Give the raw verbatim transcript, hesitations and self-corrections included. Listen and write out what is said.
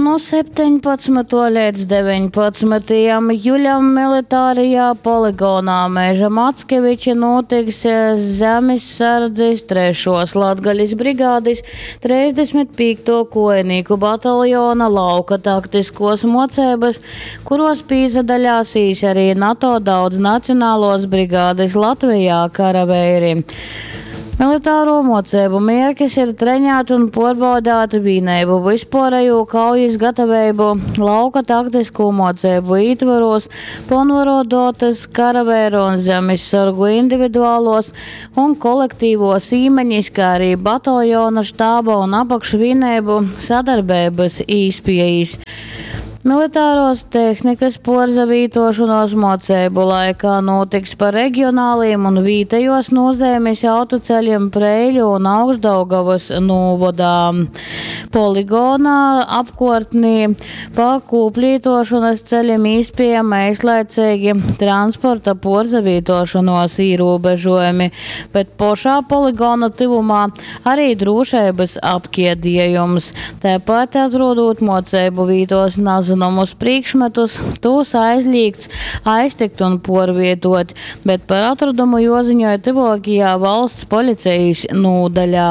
Nu septeņpadsmytuo leidz deveņpadsmytajam juļam militārajā poligonā Meža Mackeviči nūtiks Zemissardzis trešuos Latgalis brigadis treisdesmit pīktuo kuojinīku bataljona lauka taktiskuos muoceibys, kuruos pīsadalēsīs ari NATO daudznacionaluos brigadis Latvejā karaveiri. Militāro mocību mērķis ir trenēt un pārbaudīt vienību vispārējo kaujas gatavību lauka taktisko mocību ietvaros, pilnvarodotas karavēru un zemesargu individuālos un kolektīvos īmeņas, kā arī bataljona štāba un apakšvienību sadarbības īspējas. Militāros tehnikas porzavītošanos mocību laikā notiks pa reģionāliem un vietējos nozīmes autoceļiem Preiļu un Augšdaugavas novadā. Poligonā apkārtnī pa kūplītošanas ceļiem īspējama īslaicīgi transporta porzavītošanos ierobežojumi, bet pošā poligona tuvumā arī drošības apkiedījums. Tāpat atrodot mocību vītos nezināmus priekšmetus, tos aizliegts aiztikt un porvietot, bet par atradumu joziņoja tuvākajā valsts policijas nodaļā.